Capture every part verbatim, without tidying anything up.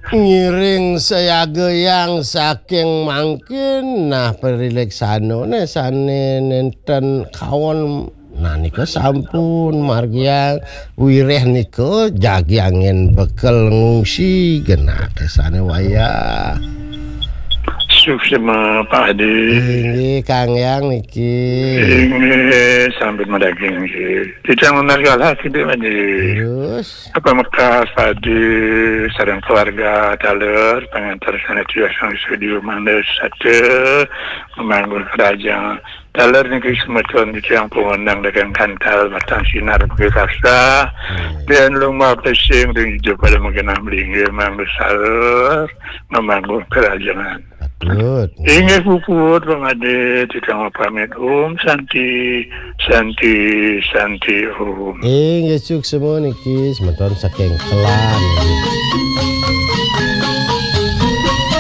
Ngiring sayaga yang saking mangkin, nah, parileksana ne sane nenten kawon. Nah, nika sampun margiang wireh nika jagi angin bekel ngungsi genah kesane wayah. Suksma, Pak Adi. Inggih, Kang Yang niki. Inggih, sampun madaging nggih. Titiang nunas galah, Pak Adi. Terus? Apa mekas, Pak Adi, sareng keluarga taler, pangantar sanes tiyang sang studio mangda sata, memanggun kerajaan. Taler niki semeton titiang pungundang dagang kantal, matang sinar, bagi rasa. Hmm. Dan lumah pesing, dan hijau pada makin amling, mangda saler, memanggun kerajaan. Patut. Inggih puput, Pak Adi, titiang pamit. Om Santi, Santi, Santi, Om. Inggih, suksma niki semeton saking Kelan.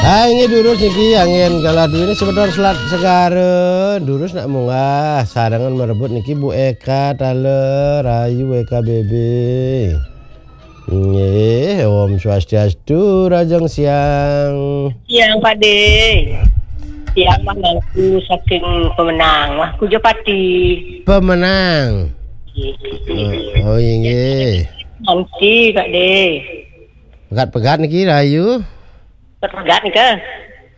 Ah, inggih durus niki angin galah duwini semeton Selat Segara. Durus nak munggah sarengan marebut niki Bu Eka taler, rahayu Eka B B. Nggih, Om Swastiastu, Rajang Siang. Siang, Pak De. Siang, Mangku saking Pemenang. Wah, Kujapati. Pemenang. Nggih. Oh, oh, inggih. Nanti, Pak De. Pegat-pegat niki, rahayu. Pegat nika.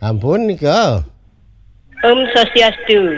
Ampun nika. Om Swastiastu.